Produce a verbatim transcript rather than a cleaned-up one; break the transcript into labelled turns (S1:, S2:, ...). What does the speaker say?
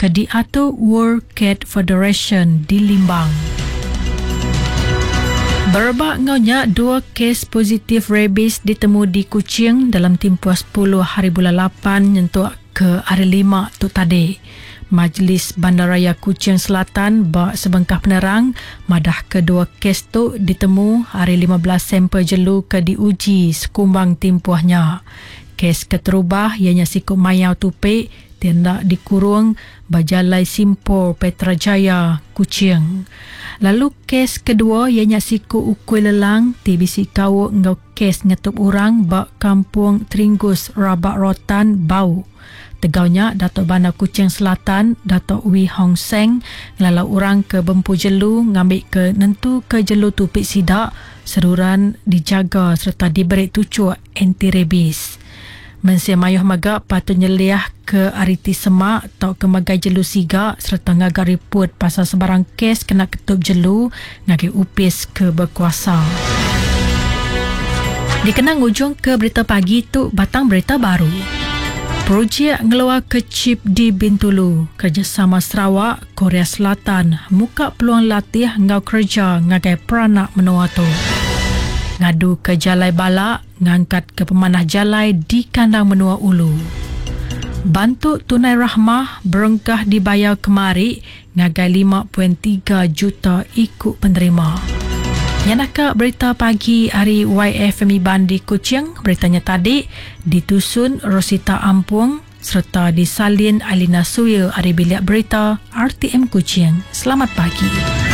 S1: ke diatur World Cat Federation di Limbang. Berebak enggau nya, dua kes positif rabies ditemu di Kuching dalam timpuh sepuluh hari bulan lapan nyentuk ke hari lima tu tadi. Majlis Bandaraya Kuching Selatan ba sebengkah penerang madah kedua kes tu ditemu hari lima belas sampel jelu ke diuji sekumbang timpuhnya. Kes keterubah ianya siku mayau tupik tindak dikurung bajalai Simpor Petra Jaya, Kuching. Lalu kes kedua ianya siku ukui lelang ti bisi kau enggau kes ngetup orang ba Kampung Teringgus Rabak Rotan Bau. Tegaunya Datuk Bandar Kuching Selatan Datuk Wee Hong Seng ngelalau orang ke bempu jelu ngambil ke nentu ke jelu tupik sidak seruran dijaga serta diberi tucuk anti rabies. Mensia mayuh maga patut nyeliah ke ariti semak atau ke magai jelu siga serta ngaga report pasal sebarang kes kena ketup jelu ngagai upis ke berkuasa. Dikenang ujung ke berita pagi tu batang berita baru. Projek ngeluar ke chip di Bintulu, kerjasama Sarawak, Korea Selatan, muka peluang latih ngau kerja ngagai peranak menua tu. Ngadu ke jalai balak, ngangkat ke pemanah jalai di kandang menua ulu. Bantu tunai rahmah berengkah dibayar kemari ngagai lima perpuluhan tiga juta ikut penerima. Nyanaka berita pagi hari Y F M Iban di Kuching, beritanya tadi ditusun Rosita Ampung serta disalin Alina Suil ari bilik berita R T M Kuching. Selamat pagi.